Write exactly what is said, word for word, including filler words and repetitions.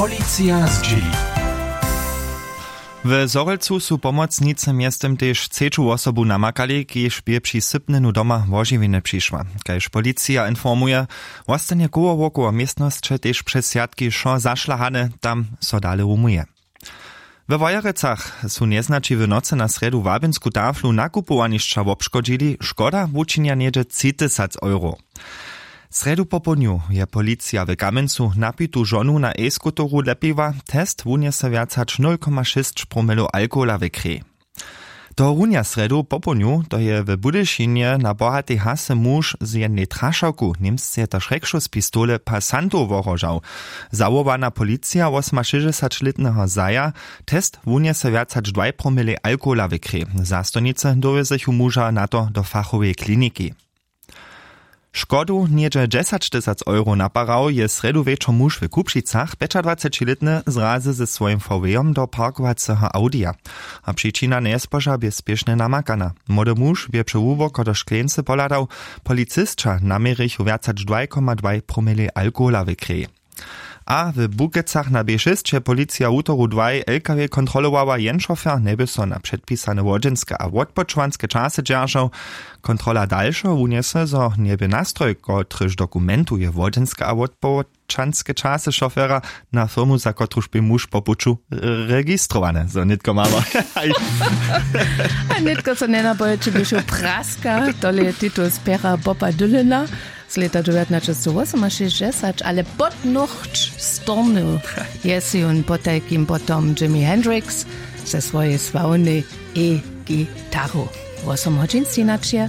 Policija zdźěli. W Zhorjelcu su pomocnicy mjeztym tež třeću wosobu namakali, kiž bě při sypnjenju doma wožiwjenje přišła. Kaž policija informuje, wostanje koło wokoło městnosće tež přez swjatki wšo zašlahane, tam so dale rumuje. We Wojerecach su njeznaći w nocy na srjedu wabynsku taflu nakupowanišća wobškodźili, škoda wučinja něhdźe tři tysac euro. Srjedu popołdnju je policija w Kamjencu napitu žonu na e-scooteru lepiła. Test wunjese wjac hač nul koma šěsć promilow alkohola w krěj. Tohorunja srjedu popołdnju to je w Budyšinje na bohatej hasy muž z jednej trašawku, němsce je to šrekšus, pistole pasantow wohrožał. Zawołana policija wosomašěsćdźesaćlětneho zaja. Test wunjese wjac hač dwaj promilej alkohola w krěj. Zastojnicy dowjezechu muža na to do fachoweje kliniki. Škodu něhdźe dźesaćtysac euro naparał je srjedu wječor muž w Kupšicach, pjećadwacećilětny, zrazy ze swojim V W-om do parkowaceho Audija. A přičina njezboža bě spěšnje namakana. Młody muž bě při hłuboko do škleńcy pohladał. Policisća naměrichu wjac hač dwaj koma dwaj promilej alkohola w krěj. A w Bukecach na B šěsć je policija wutoru dwaj L K W kontrolowała, jen šofer njeby so na předpisane wodźenske a wotpočowanske časy dźeržał. Kontrola dalšo wunjese, zo njeby nastroj, kotryž dokumentuje wodźenske a wotpočowanske časy šofera, na firmu, za kotruž bě muž po puću registrowany. Zo nětko mamy. A nětko so njenapojeće běšu praska, tole je titul z pjera Boba Dylana z lěta dźewjatnaćestowosomašěsćdźesać, ale podnochć stornył je sej jón potajkim potom Jimi Hendrix ze swojej sławnej e-gitaru. Wosom hodźin stejnaće.